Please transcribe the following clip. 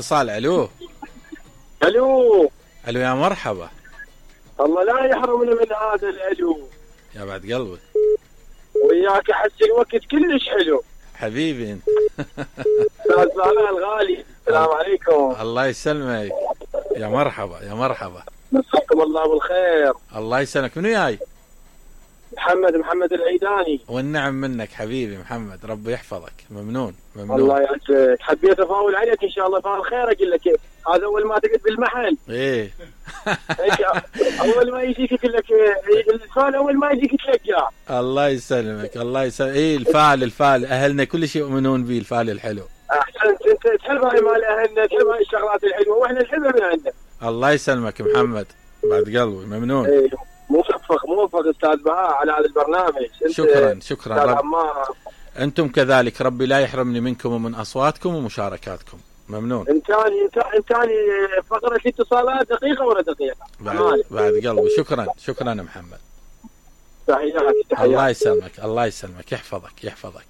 اتصال. الو الو الو يا مرحبا. الله لا يحرمنا من هذا الالو يا بعد قلبك وياك، احس الوقت كلش حلو حبيبي انت. استاذ طلال الغالي، السلام عليكم. الله يسلمك. يا مرحبا يا مرحبا. مساكم الله بالخير. الله يسلمك. منو جاي؟ محمد العيداني. والنعم منك حبيبي محمد، ربي يحفظك. ممنون ممنون. الله يعزك. حبيت افاول عليك ان شاء الله فعل خير. اقول لك هذا اول ما تقعد بالمحل ايه اول ما يجيك يقول لك الفال، اول ما يجيك تلقاه. الله يسلمك الله يسلمك. ايه الفال اهلنا كل شيء يؤمنون به، الفال الحلو. احسنت، انت تحب هاي مال اهلنا، تحب هاي الشغلات الحلوه واحنا نحبها من عندك. الله يسلمك محمد، بعد قلبي ممنون. ايه موفق استاذ بهاء على هذا البرنامج. شكرا رب. انتم كذلك، ربي لا يحرمني منكم ومن اصواتكم ومشاركاتكم. ممنون. انتاني فقره الاتصالات دقيقه ولا دقيقه؟ بعد قلبي. شكرا يا محمد. تحياتي. الله يسلمك الله يسلمك، يحفظك.